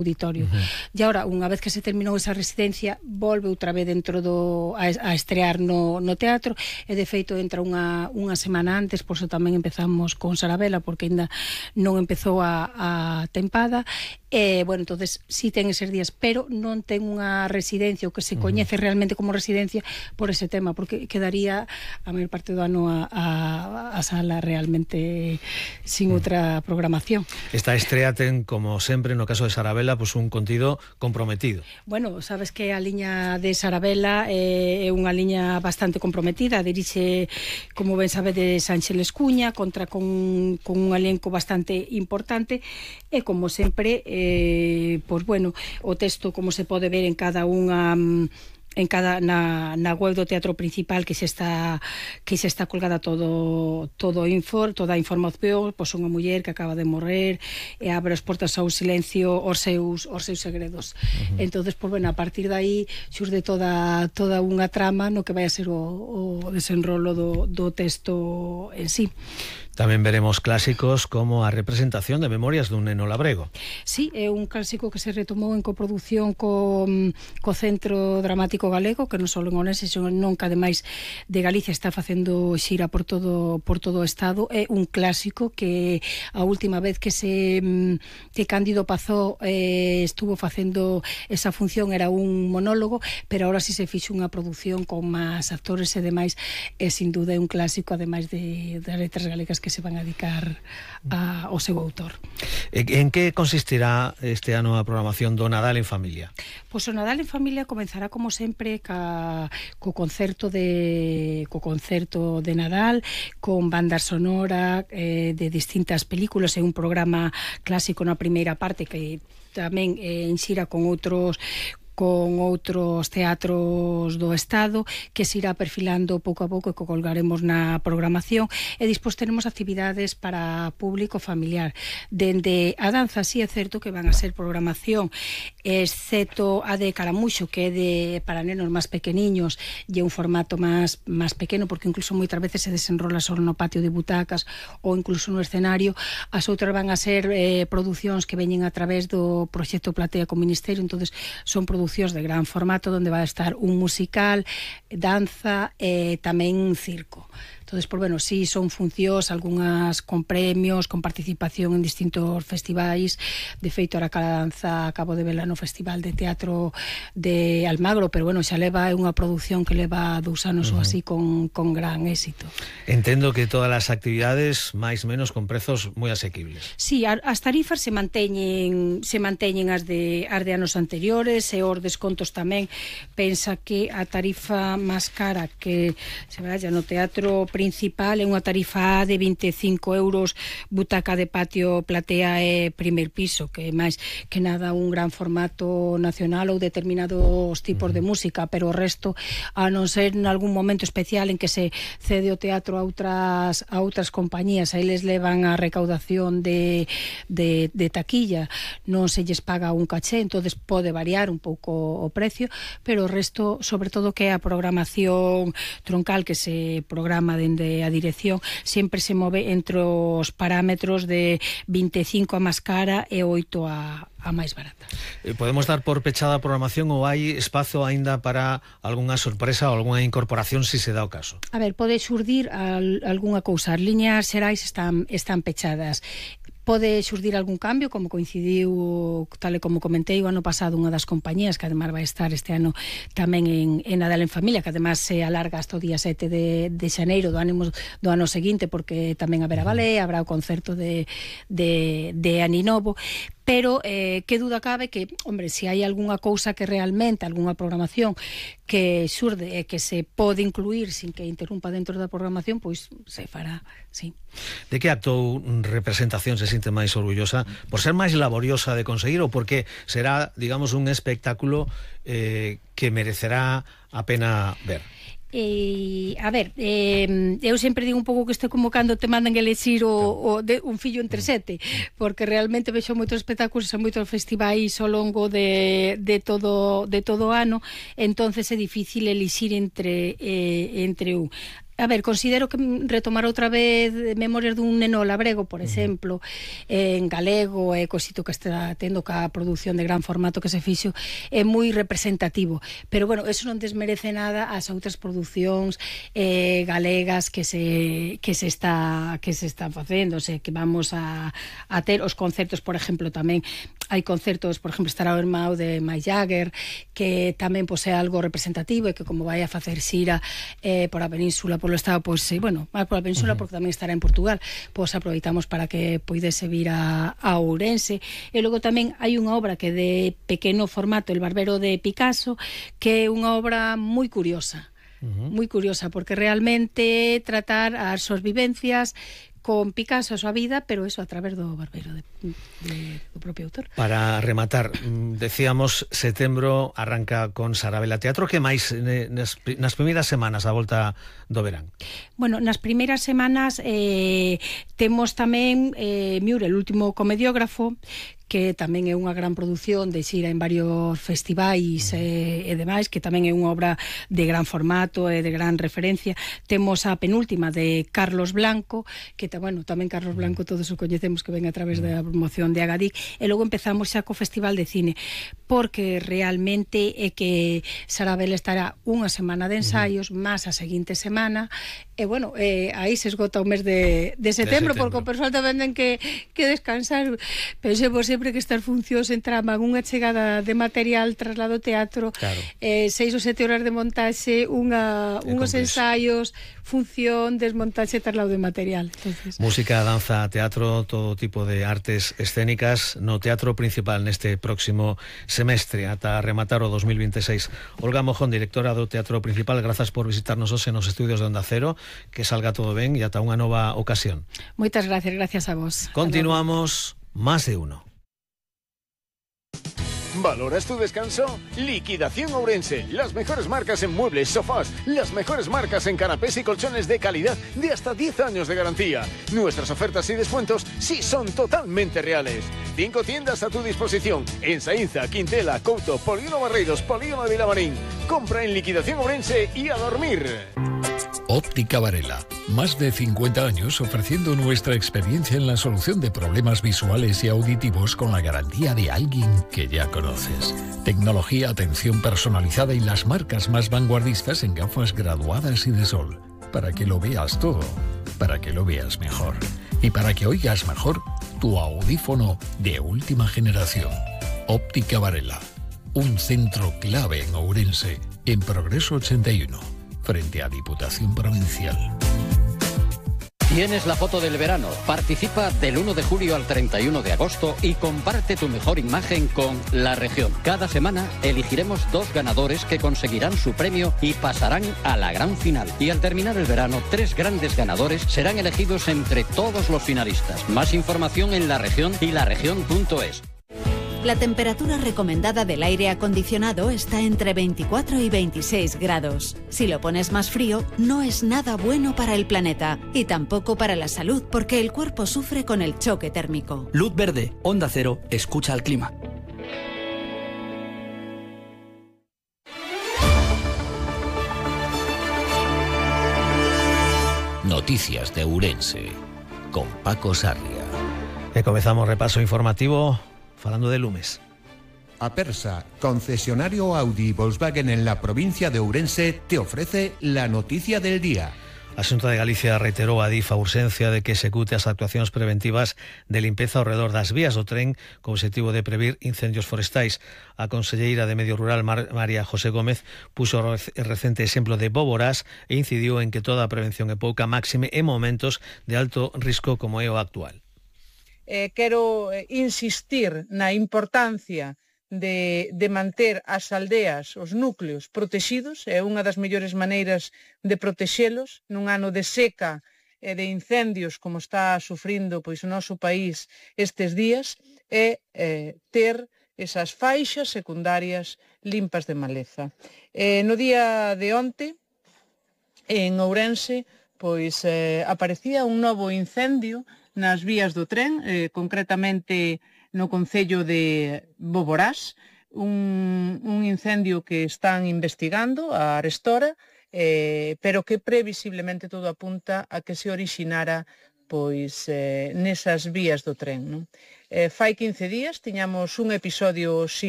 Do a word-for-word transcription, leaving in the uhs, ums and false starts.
auditorio. Uh-huh. E agora, unha vez que se terminou esa residencia, volve outra vez dentro do a, a estrear no, no teatro, e de feito entra unha, unha semana antes, por eso tamén empezamos con Sarabela, porque ainda non empezou a, a tempada, e, bueno, entonces sí ten eses días, pero non ten unha residencia, o que se coñece uh-huh. realmente como residencia, por ese tema, porque quedaría a maior parte do ano a, a, a sala realmente sin uh-huh. outra programación. Esta estrea ten, como sempre, no caso de Sarabela, pues un contido comprometido. Bueno, sabes que a liña de Sarabela é unha liña bastante comprometida, dirixe, como ben sabedes, Ángeles Cuña, contra con, con un elenco bastante importante, e como sempre, eh, pues bueno, o texto, como se pode ver en cada unha... en cada na, na web do Teatro Principal, que se está que se está colgada todo todo info, toda a información, pois unha muller que acaba de morrer e abre as portas ao silencio os seus os seus segredos. Uh-huh. Entonces, pois bueno, a partir de aí xurde toda toda unha trama no que vai a ser o, o desenrolo do, do texto en sí. Tamén veremos clásicos como a representación de Memorias dun neno labrego. Sí, é un clásico que se retomou en coproducción co, co Centro Dramático Galego, que non só en Ourense, senón nunca ademais de Galicia está facendo xira por todo por todo o estado. É un clásico que a última vez que se que Cándido Pazó eh, estuvo facendo esa función era un monólogo, pero agora si se fixo unha produción con máis actores e demais, é sin duda un clásico, ademais de, de letras galegas que se van a dedicar a, ao seu autor. En que consistirá este ano a programación do Nadal en Familia? Pois o Nadal en Familia comenzará como sempre ca, co concerto de co concerto de Nadal, con banda sonora eh, de distintas películas e un programa clásico na primeira parte que tamén eh, enxira con outros con outros teatros do Estado, que se irá perfilando pouco a pouco e que colgaremos na programación, e despois tenemos actividades para público familiar. Dende a danza, sí é certo que van a ser programación, exceto a de Caramuxo, que é de para nenos máis pequeniños e un formato máis máis pequeno, porque incluso moitas veces se desenrola só no patio de butacas ou incluso no escenario. As outras van a ser eh, producións que veñen a través do proxecto Platea con Ministerio, entonces son producións de gran formato onde vai a estar un musical, danza e tamén circo. Entonces, pues bueno, sí, son funcións, algunhas con premios, con participación en distintos festivais. De feito, ahora cada danza acabo de vela no Festival de Teatro de Almagro, pero bueno, xa leva unha produción que leva dous anos uh-huh. ou así con, con gran éxito. Entendo que todas as actividades, máis menos, con prezos moi asequibles. Sí, as tarifas se manteñen se manteñen as de, as de anos anteriores, e os descontos tamén. Pensa que a tarifa máis cara que se vaya no Teatro Principal é unha tarifa de vinte e cinco euros, butaca de patio, platea e primer piso, que é máis que nada un gran formato nacional ou determinados tipos de música, pero o resto, a non ser en algún momento especial en que se cede o teatro a outras a outras compañías, aí les levan a recaudación de, de, de taquilla, non se lles paga un caché, entonces pode variar un pouco o precio, pero o resto, sobre todo que a programación troncal que se programa de de a dirección, sempre se move entre os parámetros de vinte e cinco a máis cara e oito a, a máis barata. Podemos dar por pechada a programación ou hai espazo aínda para algunha sorpresa ou algunha incorporación se se dá o caso? A ver, pode xurdir al, algunha cousa. As liñas xerais están, están pechadas. Pode xurdir algún cambio, como coincidiu, tal e como comentei, o ano pasado unha das compañías, que además vai estar este ano tamén en, en Nadal en Familia, que además se alarga hasta o día sete de, de xaneiro do ano, do ano seguinte, porque tamén haberá balé, habrá o concerto de, de, de Aninovo. Pero eh, que duda cabe que, hombre, se hai algunha cousa que realmente, algunha programación que xurde e que se pode incluir sin que interrumpa dentro da programación, pois se fará, sí. De que acto ou representación se sinte máis orgullosa? Por ser máis laboriosa de conseguir ou porque será, digamos, un espectáculo eh, que merecerá a pena ver? E, a ver, eh, eu sempre digo un pouco que isto é como cando te mandan elexir o, o de, un fillo entre sete, porque realmente vexo moitos espectáculos e moitos festivais ao longo de, de todo de todo o ano, entonces é difícil elixir entre, eh, entre un. A ver, considero que retomar outra vez Memorias dun neno labrego, por exemplo, en galego, e cosito que está tendo ca produción de gran formato que se fixo, é moi representativo. Pero, bueno, eso non desmerece nada as outras producións eh, galegas que se que se está que se están facendo, o sea, que vamos a, a ter os concertos, por exemplo, tamén hai concertos, por exemplo, estará o Irmão de Mick Jagger, que tamén pois, é algo representativo e que como vai a facer xira eh, por a península, polo estado, pois, eh, bueno, máis por a península, uh -huh. porque tamén estará en Portugal, pois aproveitamos para que poidese vir a, a Ourense. E logo tamén hai unha obra que de pequeno formato, El Barbero de Picasso, que é unha obra moi curiosa, uh -huh. moi curiosa, porque realmente tratar as súas vivencias con Picasso a súa vida, pero eso a través do barbero de, de, do propio autor. Para rematar, decíamos, setembro arranca con Sarabela Teatro. Que máis nas, nas primeiras semanas a volta do verán? Bueno, nas primeiras semanas eh, temos tamén eh, Miura, el último comediógrafo, que tamén é unha gran produción de xira en varios festivais e, e demais, que tamén é unha obra de gran formato e de gran referencia. Temos a penúltima de Carlos Blanco, que bueno, tamén Carlos Blanco todos o coñecemos, que ven a través da promoción de Agadic, e logo empezamos xa co Festival de Cine, porque realmente é que Sarabela estará unha semana de ensaios, máis a seguinte semana, e bueno, eh, aí se esgota o mes de, de setembro, de setembro, porque o persoal tamén ten que, que descansar. Pensemos sempre que estas funcións entraban unha chegada de material traslado ao teatro, claro. eh, seis ou sete horas de montaxe, unha, unhos ensaios, función, desmontaxe, traslado de material. Entonces... Música, danza, teatro, todo tipo de artes escénicas no Teatro Principal neste próximo semestre, ata rematar o dos mil veintiséis. Olga Mojón, directora do Teatro Principal, grazas por visitarnos hoxe nos estudios de Onda Cero, que salga todo ben e ata unha nova ocasión. Moitas gracias, gracias a vos. Continuamos, Más de Uno. ¿Valoras tu descanso? Liquidación Ourense. Las mejores marcas en muebles, sofás, las mejores marcas en canapés y colchones de calidad de hasta diez años de garantía. Nuestras ofertas y descuentos sí son totalmente reales. Cinco tiendas a tu disposición en Saínza, Quintela, Couto, Polígono Barreiros, Polígono de Vilamarín. Compra en Liquidación Ourense y a dormir. Óptica Varela, más de cincuenta años ofreciendo nuestra experiencia en la solución de problemas visuales y auditivos con la garantía de alguien que ya conoces. Tecnología, atención personalizada y las marcas más vanguardistas en gafas graduadas y de sol. Para que lo veas todo, para que lo veas mejor. Y para que oigas mejor tu audífono de última generación. Óptica Varela, un centro clave en Ourense, en Progreso ochenta y uno. Frente a Diputación Provincial. Tienes la foto del verano. Participa del uno de julio al treinta y uno de agosto y comparte tu mejor imagen con La Región. Cada semana elegiremos dos ganadores que conseguirán su premio y pasarán a la gran final. Y al terminar el verano, tres grandes ganadores serán elegidos entre todos los finalistas. Más información en La Región y laregion punto es. La temperatura recomendada del aire acondicionado está entre veinticuatro y veintiséis grados. Si lo pones más frío, no es nada bueno para el planeta y tampoco para la salud, porque el cuerpo sufre con el choque térmico. Luz verde, Onda Cero, escucha al clima. Noticias de Ourense, con Paco Sarria. E comezamos repaso informativo falando de lumes. Apersa, concesionario Audi y Volkswagen en la provincia de Ourense, te ofrece la noticia del día. A Xunta de Galicia reiterou a DIF a urxencia de que execute as actuacións preventivas de limpeza ao redor das vías do tren co objetivo de previr incendios forestais. A conselleira de Medio Rural, Mar María José Gómez, puxo o recente exemplo de Bóboras e incidiu en que toda a prevención é pouca, máxime en momentos de alto risco como é o actual. Eh, quero insistir na importancia de, de manter as aldeas, os núcleos protexidos. É unha das mellores maneiras de protexelos nun ano de seca e de incendios como está sufrindo pois, o noso país estes días, é eh, ter esas faixas secundarias limpas de maleza. Eh, no día de onte, en Ourense, pois eh, aparecía un novo incendio nas vías do tren, eh, concretamente no concello de Boborás, un, un incendio que están investigando a Arestora eh, pero que previsiblemente todo apunta a que se orixinara pois eh, nesas vías do tren, non? Eh, fai quince días tiñamos un episodio similar